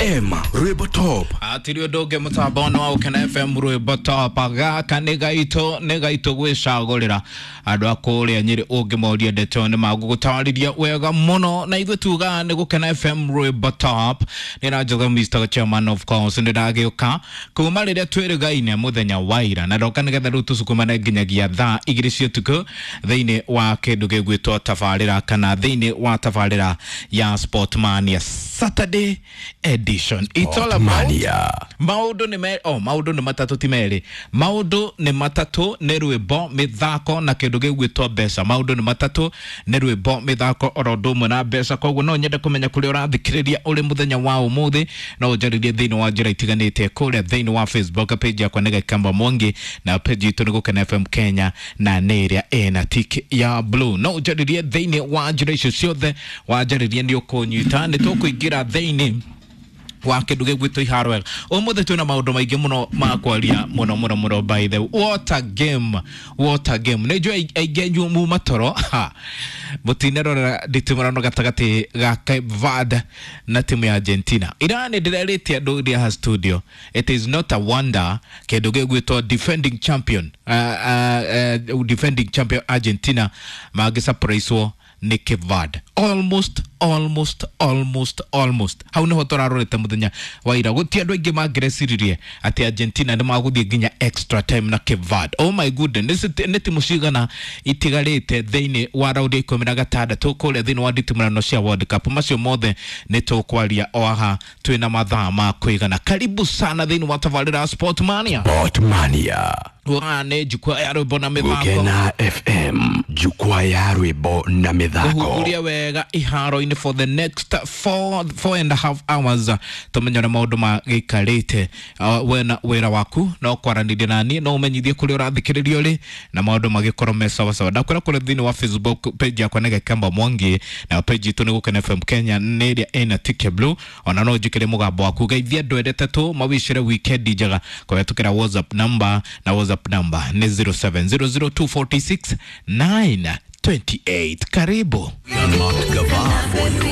FM Rwimbo Top. Atiri ũndũ ũngĩ mũtambo-inĩ wa Gũkena FM Rwimbo Top. Gaka nĩ gaitũ, nĩ gaitũ gwĩcagũrĩra andũ a kũrĩa Nyĩrĩ ũngĩmoria ndeto nĩ magũgũtarĩria wega mũno, na ithuĩ tugaga nĩ Gũkena FM Rwimbo Top. Nĩ na Njũgũ Mr Chairman of course, nĩ ndagĩũka kuma rĩrĩa twĩrĩgaine mũthenya wa ira, na ndoka nĩgetha rĩu tũcukumane nginyagia thaa 2 cia ũtukũ thĩinĩ wa kĩndũ gĩgwĩtwo tabarĩra, kana thĩinĩ wa tabarĩra ya Sportmania Saturday edition. It's all about maũndũ nĩ me, oh, maũndũ nĩ matatũ ti merĩ, maũndũ nĩ matatũ nĩ rwĩmbo, mĩthako na kĩndũ gĩgwĩtwo mbeca. Maũndũ nĩ matatũ nĩ rwĩmbo, mĩthako oro ũndũ ũmwe na mbeca. Koguo no nyende kũmenya kũrĩa ũrathikĩrĩria ũrĩ mũthenya wa ũmũthĩ, no ũnjarĩrie thĩinĩ wa njĩra itiganĩte kũrĩa thĩinĩ wa Facebook page yakwa nĩ Gĩkamba Mwangi, na page itũ nĩ Gũkena FM Kenya, na nĩ ĩrĩa ĩna tick ya blue. No ũnjarĩrie thĩinĩ wa njĩra icio ciothe, wanjarĩrie nĩ ũkũnyita, nĩ tũkũingĩra thĩinĩ wa kĩndũ gĩgwĩtwo iharo wega. Ũmũthĩ twĩna maũndũ maingĩ mũno ma kwaria mũno mũno mũno. By the way, what a game, what a game. Nĩ njũĩ aingĩ anyu muma toro mũtinerorera nditimũrano gatagatĩ ga Cape Verde na timu ya Argentina. Ira nĩ ndĩrerĩte andũ iria ha studio, it is not a wonder kĩndũ gĩgwĩtwo defending champion, defending champion Argentina mangĩsurprisewo nĩ Cape Verde. Almost, almost, almost, almost hau niho tũrarorete mũthenya wa ira. Gũtirĩ andũ aingĩ mangĩreciririe atĩ Argentina nĩ magũthiĩ nginya extra time na Cape Verde. Oh my goodness, nĩ timu cigana itigarĩte thĩinĩ wa raundi ya 16 kũrĩa thĩinĩ wa nditimũrano cia World Cup. Macio mothe nĩ tũkwaria o haha twĩna mathaa ma kũigana. Karibu sana thĩinĩ wa tabarĩra Sportmania. Sportmania. Wa nĩ jukwaa ya rwĩmbo na mĩthako. Gũkena FM, jukwaa ya rwĩmbo na mĩthako. Kũhunguria wega iharo-inĩ for the next 4.5 hours, tũmenye ũrĩa maũndũ magĩikarĩte. Wena wĩra waku no kwaranĩria nani, no ũmenyithie kũrĩa ũrathikĩrĩria ũrĩ na maũndũ magĩkorwo me sawa sawa. Ndakwĩra kũrĩa thĩinĩ wa Facebook page yakwa nĩ Gĩkamba Mwangi, na page itũ nĩ Gũkena FM Kenya, nĩ ĩrĩa ĩna tick ya blue. Ona no ũnjĩkĩre mũgambo waku, geithia andũ erĩ atatũ mawicĩre weekend njega kũhetũkĩra WhatsApp number, na WhatsApp number nĩ 0700246928. Karibu. Unlocked Gava for you.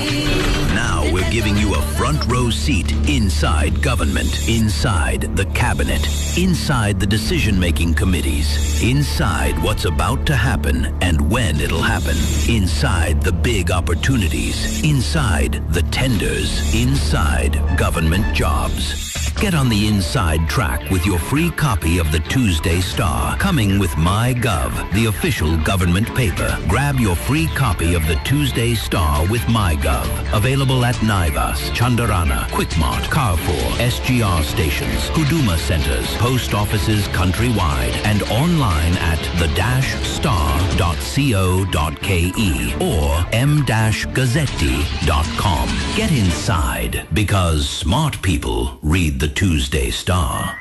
Now we're giving you a front row seat inside government, inside the cabinet, inside the decision-making committees, inside what's about to happen and when it'll happen, inside the big opportunities, inside the tenders, inside government jobs. Get on the inside track with your free copy of the Tuesday Star, coming with MyGov, the official government paper. Grab your free copy of the Tuesday Star with MyGov. Available at Naivas, Chandarana, Quickmart, Carrefour, SGR stations, Huduma centers, post offices countrywide, and online at the-star.co.ke or m-gazzetti.com. Get inside, because smart people read the Tuesday Star.